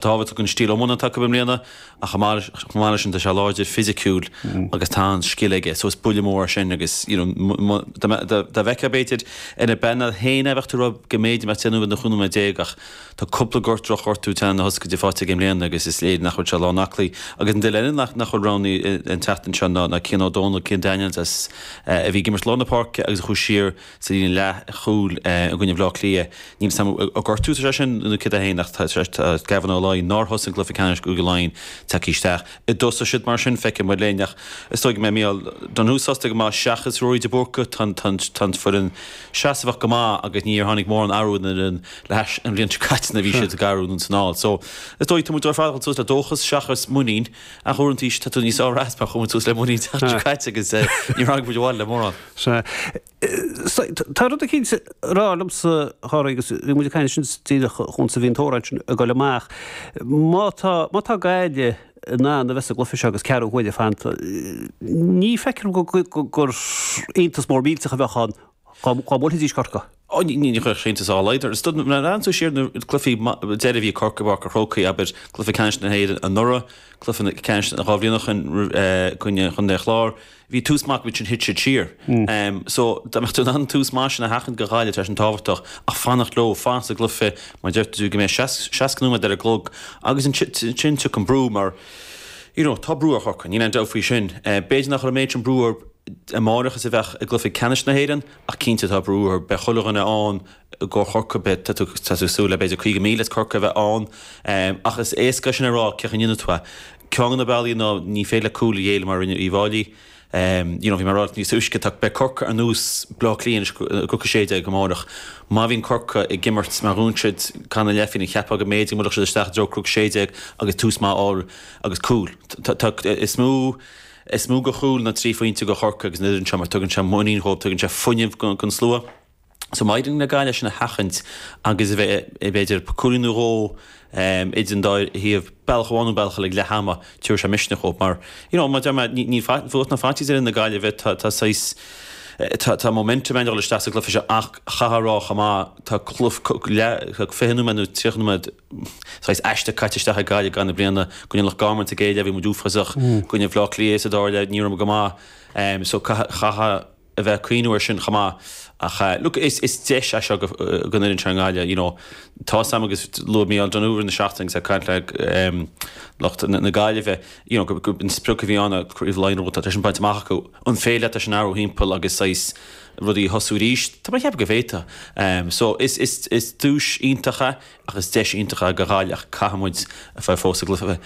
Tábhachtach an stíl iomána atá acu i mbliana ach chomh maith leis sin tá sé láidir fisiciúil agus tá an-scil aige so is buille mór é sin agus you know dá bhfeicfeá b'fhéidir ar an bpainéal féin é bheadh tú ag rá go mb'fhéidir mbeadh 10 nóiméad nó 15 nóiméad ach tá cúpla gort drochghortú teannán na hioscaide faighte aige i mbliana agus is léir nach bhfuil sé lán aclaí. Agus an duine eile nach bhfuil roghnaithe an tseachtain seo ná Cian Ó Dónaill, Cian Daniels as a bhí ag imirt lár na páirce agus a chuaigh siar sa líne leathchúil i gcoinne Bhaile Átha Cliath. Níl 'fhios a'm an gortú atá sé sin nó céard é féin ach tá Gavin Ó Laighin, nár thosaigh i gcluiche ceannais Chúige Laighean, tagtha isteach. An dtosóidh siad mar sin, feicfidh muid linn ach is dóigh go mbeidh Mícheál Donoghue sásta go maith seachas Ruairí de Búrca. Tá an foireann seasmhach go maith agus níor tháinig mórán athrú ar an fhoireann le hais an bhliain seo caite nuair a bhí siad ag athrú anonn is anall. So is dóigh tá muid ar fad ag dul suas le dóchas seachas muinín ach uaireanta tá tú níos fearr as mar chuaigh muid suas le muinín an tseachtain seo caite agus níor tháinig muid abhaile le mórán. Sea. Tá rud eicínt ag rá liomsa, a Chárthaigh, agus bhí muid ag caint ansin díreach chúns a bhí an t-amhrán sin ag dul amach. Má tá, má tá Gaillimh in ann a bheith sa gcluiche seo agus ceathrú huaire fanta, ní feictear dom gur iontas mór millteach a bheadh ann dá mbuailfidís Corcaigh. Ó, ní chuirfeadh sé iontas dá laghad orm. Nuair a bhreathnaíonn tú siar ar na cluichí deiridh a bhí ag Corcaigh i bPáirc an Chrócaigh, abair, cluiche ceannais na hÉireann anuraidh, cluiche ceannais 2 bhliain ó shin i gcoinne Chontae an Chláir, Bhí tús maith acu ansin thit siad siar. So dá mbeadh tú in ann an tús maith sin a sheachaint do Ghaillimh tá sin tábhachtach ach fanacht leo, fanacht sa gcluiche mar deir tú go mbeidh 60 nóiméad ar an gclog agus ansin tiocfaidh an brú mar you know tá brú ar Chorcaigh, níl aon dabht faoi sin. B'fhéidir nach raibh an méid sin brú orthu amárach is a bheadh i gcluiche ceannais na hÉireann ach cinnte tá brú orthu, beidh chuile dhuine ann i gcomhair Chorcaí, beidh, tá tú ag súil le b'fhéidir 50,000 as Corcaigh a bheith ann ach is éasca é sin a rá cén chaoi a ndéanfaidh tú é. Ceann de na bealaí ná ní féidir leat cúl a ghéilleadh mar a rinne Uíbh Fhailí. You know, bhí mé ag rá níos túisce, tá, beidh Corcaigh ar nós Bleá Cliath anois i gcluiche 16 amárach. Má bhíonn Corcaigh ag imirt mar dhúirt siad Conor Leffin, cheapfá go mb'fhéidir go mbuailfeadh siad isteach i dtreo Cnoc 16 agus tús maith a fháil agus cúl. Tá, tá, is mó, is mó de chúl ná 3 phointe do Chorcaigh agus an fhoireann seo mar tugann sé muinín dhóibh, tugann sé fuinneamh don slua. So má éiríonn le Gaillimh sin a sheachaint agus a bheith, b'fhéidir, cúilín nó dhó idir an dá thaobh, bealach amháin nó bealach eile ag leath ama, tabharfaidh sé misneach dhóibh mar, you know, mar a deir mé, níl fuath ná faitíos ar fhoireann na Gaillimhe, tá, tá saghas, tá, tá momentum ann dul isteach sa gcluiche seo ach chaithfeá a rá chomh maith, tá cluiche, leath, 20 nóiméad nó 30 nóiméad saghas aisteach caite isteach ag Gaillimh i gcaitheamh na bliana, i gcoinne Loch Garman sa gcéad leath bhí muid uafásach, i gcoinne Bhaile Átha Cliath sa dara leath ní raibh muid go maith, so caithfidh, a bheith ag cuimhniú air sin chomh maith. Ach look, is deis é seo don fhoireann seo i nGaillimh, you know. Tá 'fhios a'm agus luaigh Mícheál Donoghue i rith na seachtaine agus é ag caint le lucht na Gaillimhe, you know, go an sprioc a bhí ann Craobh Laighean rud tá sin bainte amach acu. An féidir leat é sin a athrú thimpeall agus saghas rudaí a thosú arís? Tá mé ag ceapadh go bhféadfá. So is is is duais iontach é ach is deis iontach é do Ghaillimh ach caithfidh muid a bheith fós sa gcluiche.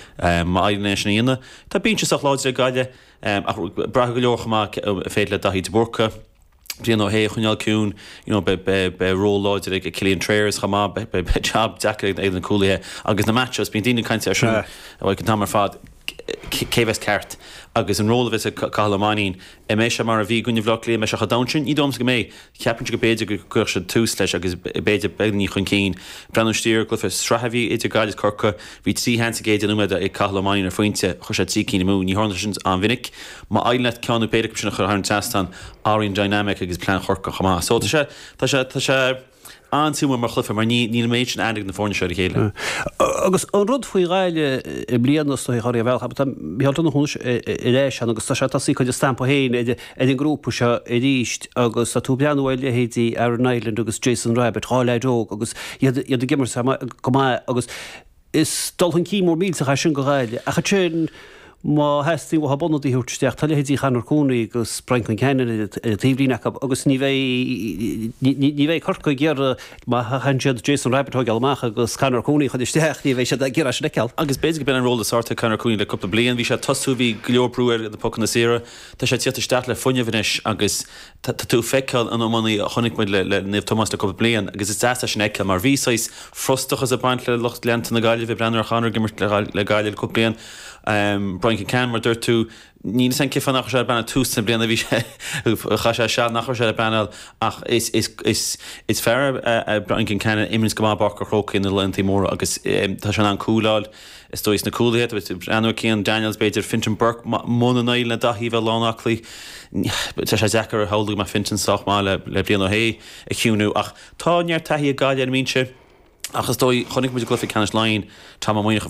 Má éiríonn linn é sin a dhéanamh, tá binse sách láidir ag Gaillimh. Ach braithfidh go leor chomh maith an féidir le Daithí de Búrca, Brian Ó hAodha a choinneáil ciúin, you know, beidh ról láidir ag Killian Trayers chomh maith, beidh job deacair ag na cúlaithe agus na match-ups, bíonn daoine ag caint air sin an t-am ar fad, cé a bheas ceart agus an ról a bheas ag Cathal Ó Mainnín, an mbeidh sé mar a bhí i gcoinne Bhaile Átha Cliath, an mbeidh sé chomh domhain sin? Ní dóigh liomsa go mbeidh. Ceapaimse go b'fhéidir go gcuirfeadh siad tús leis agus b'fhéidir beagáinín chun cinn. Breathnú siar ar an gcluiche sraithe a bhí idir Gaillimh is Corcaigh, bhí 3 sheans sa gcéad 10 nóiméad ag Cathal Ó Mainnín ar phointe, chuir sé 3 cinn amú. Ní tharlaíonn sé sin an-mhinic. Má éiríonn leat ceann nó péire acu sin a chur thar an trasnán, athraíonn dynamic agus plean Chorcaí chomh maith. So tá sé, tá sé, tá sé an-suimiúil mar chluiche mar ní, níl an méid sin aithne ag na foirne seo ar a chéile. Agus an rud faoi Ghaillimh i mbliana is dóigh, a Chárthaigh, ar bhealach, tá Micheál Donoghue anois ar ais ann agus tá sé tosaithe ag cur a stampa féin ar an ngrúpa seo arís agus tá tú ag breathnú ar leithéidí Aaron Niland agus Jason Rabbitte, 2 leaid óg agus iad ag imirt go maith agus Is dul chun cinn mór millteach é sin do Ghaillimh. Ach ansin, má theastaíonn uathu ionadaí a thabhairt isteach, tá leithéidí Chonor Cooney agus Brian Concannon ar an taobhlíne acu agus ní bheidh, ní bheidh Corcaigh ag iarraidh, má chaitheann siad Jason Rabbitte a thógáil amach agus Conor Cooney a chur isteach, ní bheidh siad ag iarraidh sin a fheiceáil. Agus b'fhéidir go b'in an ról is fearr atá ag Conor Cooney le cúpla bliain. Bhí sé ag tosú, bhí go leor brú air ar na pocanna saora. Tá sé ag tíocht isteach le fuinneamh anois agus Tá tú ag feiceáil an iománaí a chonaic muid le Naomh Tomás le cúpla bliain agus is deas é sin a fheiceáil mar bhí saghas frustrachas ag baint le lucht leanta na Gaillimhe ag breathnú ar Chonor ag imirt le Gaillimh le cúpla bliain. Brian Concannon, mar a dúirt tú, níl 'fhios a'm cén fáth nach raibh sé ar an bpainéal tús na bliana, bhí sé, chaith sé seal nach raibh sé ar an bpainéal ach is, is, is, is fear é Brian Concannon a imríonns go maith i bPáirc an Chrócaigh na laethanta móra agus tá sé in ann cúil a fháil. Is dóigh sna cúlaithe, tá tú ag breathnú ar Cian Daniels, b'fhéidir Fintan Burke, muna n-éiríonn le Daithí a bheith lán aclaí, tá sé deacair a shamhlú go mbeadh Fintan sách maith le Brian Ó hAodha a chiúnú ach tá neart taithí ag Gaillimh ar an mbinse. Ach is dóigh, chonaic muid i gcluiche ceannais Laighean, Tom Ó Maonaigh.